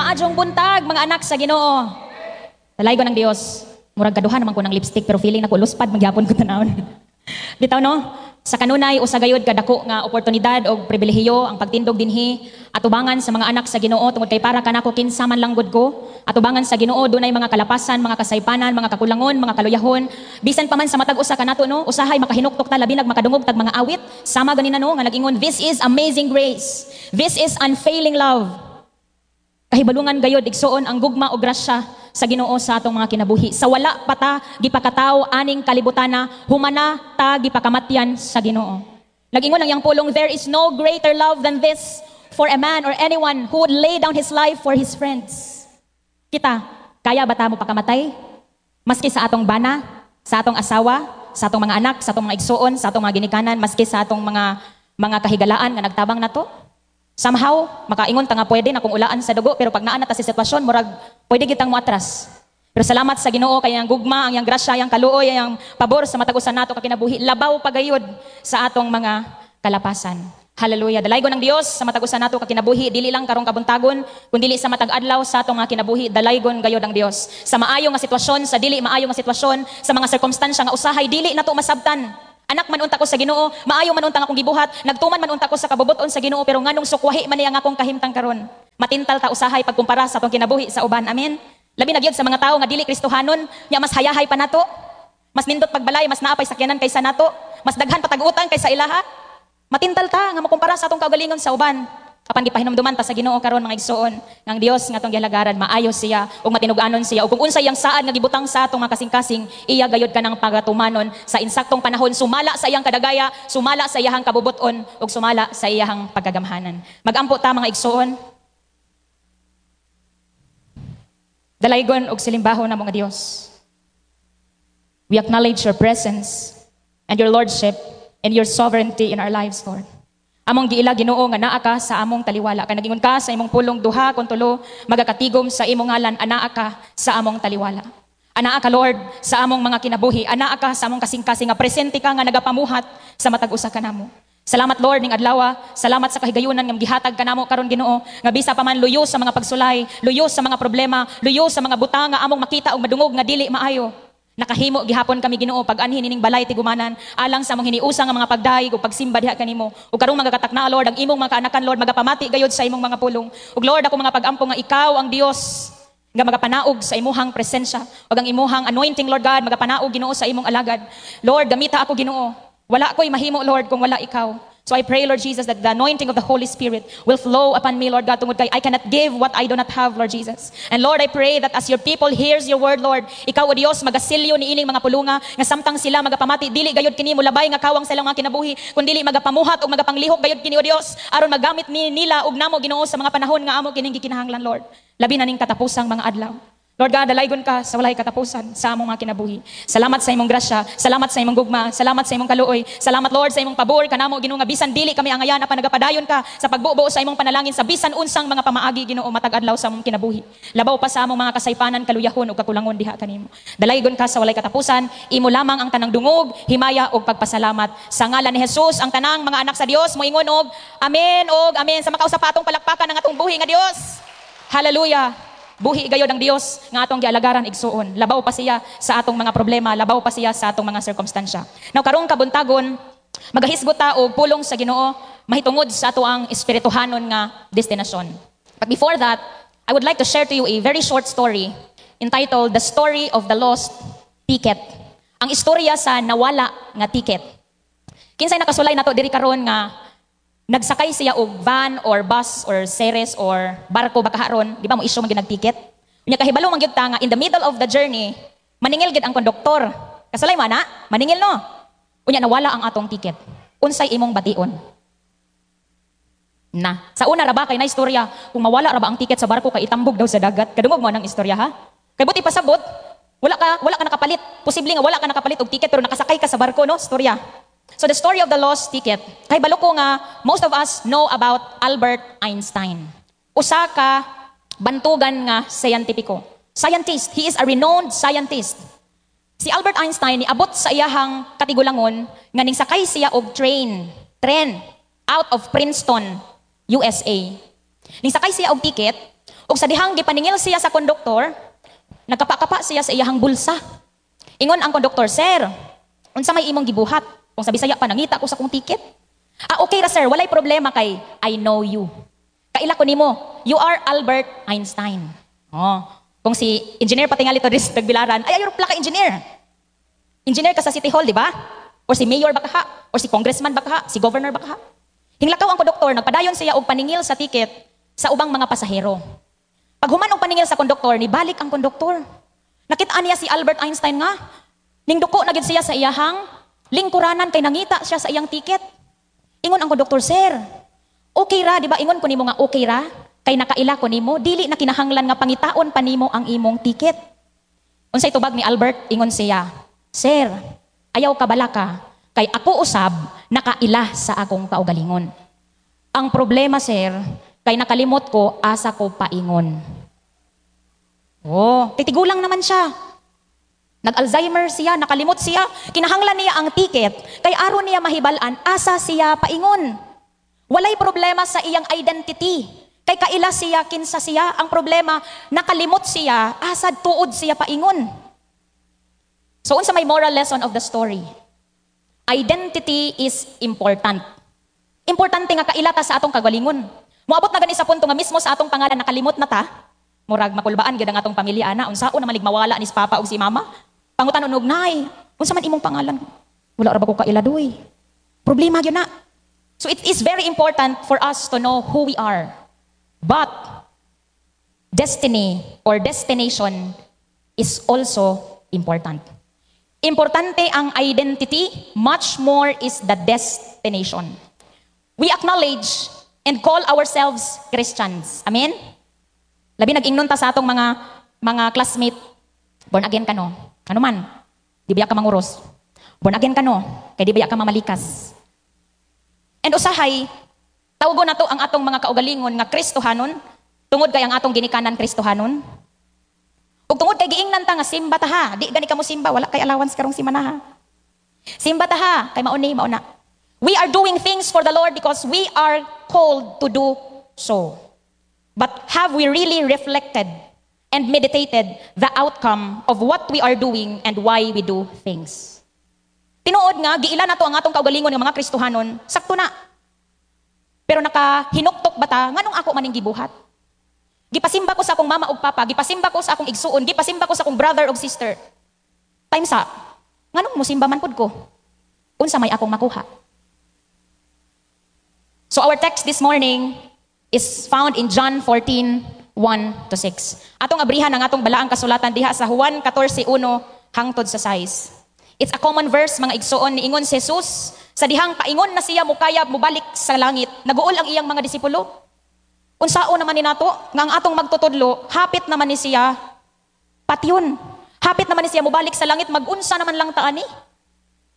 Maayong buntag, mga anak sa Ginoo. Dalaygon ang Dios. Murag kaduha naman ko ng lipstick, pero feeling nako luspad magyapon ko tanawon. Bitaw, no? Sa kanunay usa gayud kadako nga oportunidad og pribilehiyo ang pagtindog dinhi atubangan sa mga anak sa Ginoo, tungod kay para kanako, kinsa man lang gud ko atubangan sa Ginoo, dunay mga kalapasan, mga kasaypanan, mga kakulangon, mga kaluyahon. Bisan pa man sa matag usa kanato, no, usahay makahinuktok ta, labi nag makadungog tag mga awit sama ganina, no, nga nag-ingon, "This is amazing grace. This is unfailing love." Kahibalungan gayod, igsuon, ang gugma o grasya sa Ginoo sa atong mga kinabuhi. Sa wala pa ta gipakataw aning kalibutana, humana ta gipakamatyan sa Ginoo. Nag-ingon ang iyang pulong, "There is no greater love than this, for a man or anyone who would lay down his life for his friends." Kita, kaya ba ta mo pakamatay? Maski sa atong bana, sa atong asawa, sa atong mga anak, sa atong mga igsuon, sa atong mga ginikanan, maski sa atong mga kahigalaan nga nagtabang nato? Somehow, makaingon ta nga pwede na kung ulaan sa dugo, pero pag naa na ta sa sitwasyon, murag pwede kitang moatras. Pero salamat sa Ginoo kay ang gugma, ang iyang grasya, ang kaluoy, ang pabor sa matag usa nato ka kinabuhi, labaw pagayod sa atong mga kalapasan. Hallelujah. Dalaygon ang Dios sa matag usa nato ka kinabuhi, dili lang karong kabuntagon, kundi sa matag adlaw sa atong mga kinabuhi, dalaygon gayod ang Dios. Sa maayo nga sitwasyon, sa dili maayo nga sitwasyon, sa mga sirkumstansya nga usahay dili nato masabtan. Anak man unta ko sa Ginoo, maayo man unta ang akong gibuhat, nagtuman man unta ko sa kabubuton sa Ginoo, pero nganong sukwahi man niya ang akong kahimtang karon? Matintal ta usahay pagkumpara sa atong kinabuhi sa uban. Amen. Labi na gyud sa mga tawo nga dili Kristohanon, nya mas hayahay pa nato. Mas nindot pagbalay, mas naa pay sakyanan kaysa nato, mas daghan pa tag utang kaysa ilaha. Matintal ta nga makumpara sa atong kaugalingon sa uban. Apan gipahinumduman ta sa Ginoo karon, mga igsuon, nga ang Dios nga atong gihalagaran, maayo siya ug matinug-anon siya, ug kung unsa iyang saad nga gibutang sa atong mga kasing-kasing, iya gayud kanang pagatumanon sa insaktong panahon, sumala sa iyang kadagaya, sumala sa iyang kabubut-on, ug sumala sa iyang pagkagamhanan. Magampo ta, mga igsuon. Dalaygon og silimbahon na mga Dios. We acknowledge your presence and your lordship and your sovereignty in our lives, Lord. Among giila, Ginoo, nga naa ka sa among taliwala. Kay nagingon ka sa imong pulong, duha kon tulo magakatigom sa imong ngalan, anaa ka sa among taliwala. Anaa ka, Lord, sa among mga kinabuhi. Anaa ka sa among kasing-kasing, nga presente ka nga nagapamuhat sa matag usa kanamo. Salamat, Lord, ning adlaw. Salamat sa kahigayunan nga gihatag kanamo karon, Ginoo, nga bisa pa man luyo sa mga pagsulay, luyo sa mga problema, luyo sa mga butang nga among makita ug madungog nga dili maayo, nakahimo gihapon kami, Ginoo, pag-anhin ining balay tigumanan alang sa among hiniusa nga mga pagdayeg ug pagsimba diha kanimo. Ug karong magakatakna, Lord, ang imong mga kaanakan, Lord, magapamati gayud sa imong mga pulong. Ug Lord, ako mga pagampo nga ikaw ang Dios nga magapanaog sa imuhang presensya ug ang imuhang anointing, Lord God, magapanaog, Ginoo, sa imong alagad. Lord, gamita ako, Ginoo. Wala ko'y mahimo, Lord, kung wala ikaw. So I pray, Lord Jesus, that the anointing of the Holy Spirit will flow upon me, Lord God, tungod kay I cannot give what I do not have, Lord Jesus. And Lord, I pray that as your people hears your word, Lord, ikaw, O Dios, magasilyo ni ining mga pulunga, nga samtang sila magapamati, dili gayud kini mulabay nga kawang sa ilang mga kinabuhi, kundi magapamuhat ug magapanglihok gayud kini, O Dios, aron magamit ni nila ug namo, Ginoo, sa mga panahon nga amo kining gikinahanglan, Lord. Labi na ning katapusang mga adlaw. Lord God, dalaygon ka sa walay katapusan sa among mga kinabuhi. Salamat sa imong grasya, salamat sa imong gugma, salamat sa imong kaluoy, salamat, Lord, sa imong pabor kanamo, Ginoo, nga bisan dili kami angayan, apan nagapadayon ka sa pagbubo sa imong panalangin sa bisan unsang mga pamaagi, Ginoo, matag adlaw sa among kinabuhi. Labaw pa sa among mga kasaypanan, kaluyahon ug kakulangon diha kanimo. Dalaygon ka sa walay katapusan, imo lamang ang tanang dungog, himaya ug pagpasalamat. Sa ngalan ni Jesus, ang tanang mga anak sa Dios moingon og amen og amen. Sa makausa pa atong palakpakan ang atong buhi nga Dios. Hallelujah. Buhi gayod ang Dios nga atong gialagaran, igsuon. Labaw pa siya sa atong mga problema, labaw pa siya sa atong mga sirkumstansya. Now karong kabuntagon, magahisgot ta og pulong sa Ginoo mahitungod sa ato ang espirituhanon nga destinasyon. But before that, I would like to share to you a very short story entitled "The Story of the Lost Ticket." Ang istorya sa nawala nga ticket. Kinsay nakasulay nato diri karon nga nagsakay siya og van or bus or series or barko ba kaharon, di ba mo issue man gyud ticket? Unya kahibalo man gyud ta nga in the middle of the journey, maningil gyud ang konduktor. Kasulay man na, maningil, no? Unya nawala ang atong ticket. Unsay imong bation? Na. Sa una ra ba kay na istorya, kung mawala ra ba ang ticket sa barko kay itambog daw sa dagat. Kadungog mo nang istorya, ha? Kay buti pasabot, wala ka nakapalit. Posible nga wala ka nakapalit og ticket pero nakasakay ka sa barko, no? Istorya. So the story of the lost ticket. Kay balo ko nga most of us know about Albert Einstein. Usa ka bantugan nga scientifico. Scientist, he is a renowned scientist. Si Albert Einstein niabot sa iyahang katigulangon nga ning sakay siya og tren out of Princeton, USA. Ning sakay siya og ticket Ug sa dihang gipaningil siya sa konduktor, nagkapa-kapa siya sa iyahang bulsa. Ingon ang konduktor, "Sir, unsa may imong gibuhat?" Kung sa Bisaya pa, "Nangita ko sa akong ticket." "Ah, okay ra, sir, walay problema kay I know you. Kaila ko nimo, you are Albert Einstein." Oh, kung si engineer patingali to this Tagbilaran, ay ayo plaka engineer. Engineer ka sa City Hall, di ba? Or si mayor ba ka? Or si congressman ba ka? Si governor ba ka? Hinglakaw ang konduktor, nagpadayon siya og paningil sa ticket sa ubang mga pasahero. Paghuman og paningil sa konduktor, nibalik ang konduktor. Nakita niya si Albert Einstein nga ningduko na gid siya sa iyahang lingkuranan kay nangita siya sa iyang ticket. Ingon ang konduktor, "Sir, okay ra, di ba? Ingon ko nimo nga okay ra, kay nakaila ko nimo, dili na kinahanglan nga pangitaon pa nimo ang imong ticket." Unsay tubag ni Albert? Ingon siya, "Sir, ayaw ka balaka, kay ako usab nakaila sa akong kaugalingon. Ang problema, sir, kay nakalimot ko asa ko paingon." Oh, titigulang naman siya. Nag-Alzheimer siya, nakalimot siya, kinahanglan niya ang ticket, kay aron niya mahibal-an asa siya paingon. Walay problema sa iyang identity. Kay kaila siya, kinsa siya. Ang problema, nakalimot siya, asa tuod siya paingon. So unsa may moral lesson of the story? Identity is important. Importante nga kaila ta sa atong kagalingon. Moabot na gani sa punto nga mismo sa atong pangalan nakalimot na ta. Murag makulbaan gyud ang atong pamilya ana, unsaon na malig mawala ni si papa ug si mama. Pangutan-on og, "Nay, unsa man imong pangalan?" "Wala ra ba ko kaila, doy." Problema gyud na. So it is very important for us to know who we are. But destiny or destination is also important. Importante ang identity, much more is the destination. We acknowledge and call ourselves Christians. Amen? Labi nag-ingnon ta sa atong mga classmate, "Born again ka, no? Ano man? Di ba ka manguros? Born again ka, no? Kay di ba ka mamalikas?" And usahay, tawgon nato ang atong mga kaugalingon nga Kristohanon tungod kay ang atong ginikanan Kristohanon. Ug tungod kay giingnan ta nga simba ta ha, di gani ka mo simba, wala kay allowance karong simana ha. Simba ta ha, kay mao ni, mao na. We are doing things for the Lord because we are called to do so. But have we really reflected and meditated the outcome of what we are doing and why we do things? Tinuod nga, giila nato ang atong kaugalingon nga mga Kristohanon, sakto na. Pero nakahinuktok ba ta, nganong ako maning gibuhat? Gipasimba ko sa akong mama ug papa, gipasimba ko sa akong igsuon, gipasimba ko sa akong brother ug sister. Time sa, nganong musimba man pud ko? Unsa may akong makuha? So our text this morning is found in John 14, 1 to 6. Atong abrihan ang atong balaang kasulatan diha sa Juan 14:1 hangtod sa 6. It's a common verse, mga igsuon. Niingon si Jesus sa dihang paingon na siya mukayab mubalik sa langit. Naguol ang iyang mga disipulo. Unsaon naman ni nato nga ang atong magtutudlo, hapit naman ni siya patyon. Hapit naman ni siya mubalik sa langit, magunsa naman lang ta ani?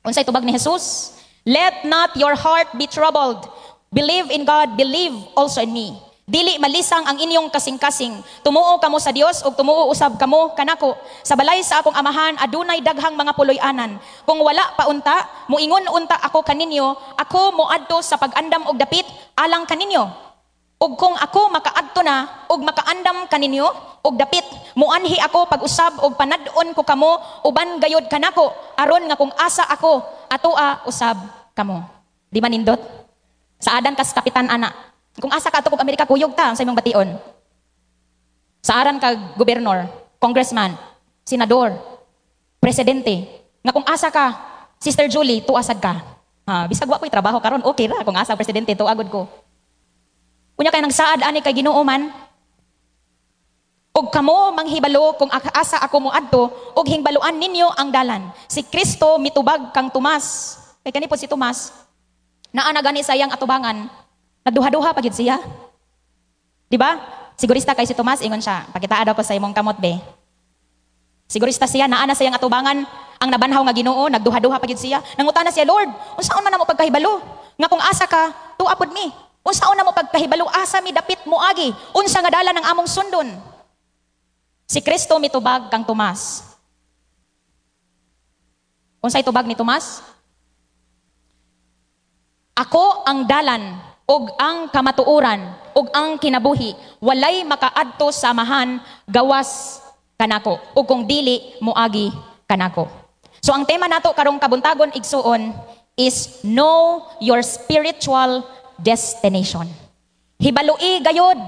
Unsay tubag ni Jesus? "Let not your heart be troubled. Believe in God, believe also in me. Dili malisang ang inyong kasing-kasing. Tumuo kamo sa Dios ug tumuo usab kamo kanako. Sa balay sa akong amahan adunay daghang mga puloy-anan. Kung wala pa unta, muingon unta ako kaninyo, ako moadto sa pag-andam og dapit alang kaninyo. Ug kung ako makaadto na ug makaandam kaninyo og dapit, muanhi ako pag-usab og panad-on ko kamo uban gayod kanako, aron nga kung asa ako, atoa usab kamo." Di ba nindot? Saadan kas kapitan ana. Kung asa ka ato kog Amerika, kuyog ta sa imong bation. Saaran kag gobernador, congressman, senador, presidente, nga kung asa ka, Sister Julie, tuasad ka. Ha, bisag wa ko'y trabaho karon, okay ra kung asa ang presidente, tuagod ko. Unya kay nagsaad ani kay Ginoo man. "Ug kamo manghibalo kung asa ako moadto ug hingbaluan ninyo ang dalan." Si Kristo mitubag kang Tomas. Kay kani po si Tomas, naa na gani sa iyang atubangan, nagduha-duha pa gid siya. Di ba? Sigurista kay si Tomas, ingon siya, "Pakitaa daw ko sa imong kamot, be." Sigurista siya, naa na sa iyang atubangan ang nabanhaw nga Ginoo, nagduha-duha pa gid siya. Nangutana siya, "Lord, unsaon man namo pagkahibalo nga kung asa ka, tuwa pud mi? Unsaon namo pagkahibalo asa mi dapit moagi? Unsa nga dalan ang among sundon?" Si Kristo mitubag kang Tomas. Unsay tubag ni Tomas? "Ako ang dalan ug ang kamatuoran ug ug ang kinabuhi. Walay makaadto sa Amahan gawas kanako ug kung dili moagi kanako. So ang tema nato karong kabuntagon, igsuon, is know your spiritual destination. Hibalui gayod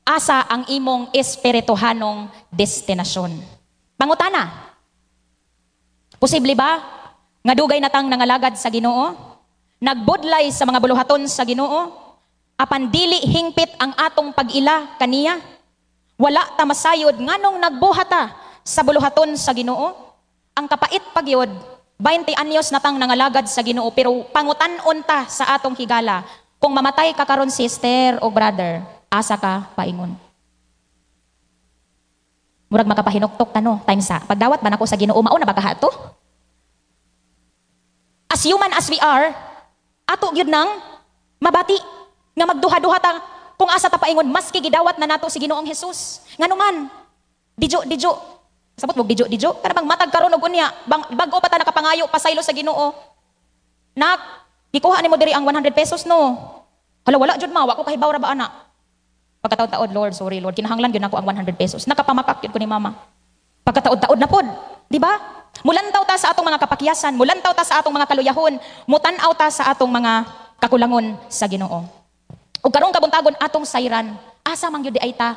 asa ang imong espirituhanong destinasyon. Pangutana, posible ba nga dugay natang nangalagad sa Ginoo? Nagbudlay sa mga buluhaton sa Ginoo? Apan dili hingpit ang atong pag-ila kaniya? Wala ta masayod nganong nagbuhat ta sa buluhaton sa Ginoo? Ang kapait pagyod, 20 anyos natang nangalagad sa Ginoo, pero pangutan-on ta sa atong higala, kung mamatay ka karon, sister o brother, asa ka paingon? Murag makapahinuktok ta, no, time sa pagdawat ba nako sa Ginoo, mao na ba kaha to? As human as we are, ato gyud nang mabati nga magduha-duha ta kung asa ta paingon maski gidawat na nato si Ginoong Hesus. Ngano man, dijo dijo. Sabot mo dijo dijo, kana bang matag karon og unya, bang bag-o pa ta nakapangayo pasaylo sa Ginoo. Nak, gikuha nimo diri ang 100 pesos, no? Hala, wala jud, ma, wa ko kahibaw ra ba ana. Pagkataod-taod, "Lord, sorry Lord, kinahanglan gyud nako ang 100 pesos." Nakapamakak gyud ko ni mama. Pagkataod-taod na pod, di ba? Mulantaw ta sa atong mga kapakyasan, mulantaw ta sa atong mga kaluyahon, mutan-aw ta sa atong mga kakulangon sa Ginoo. Ug karong kabuntagon, atong sayran, asa man gyud diay ta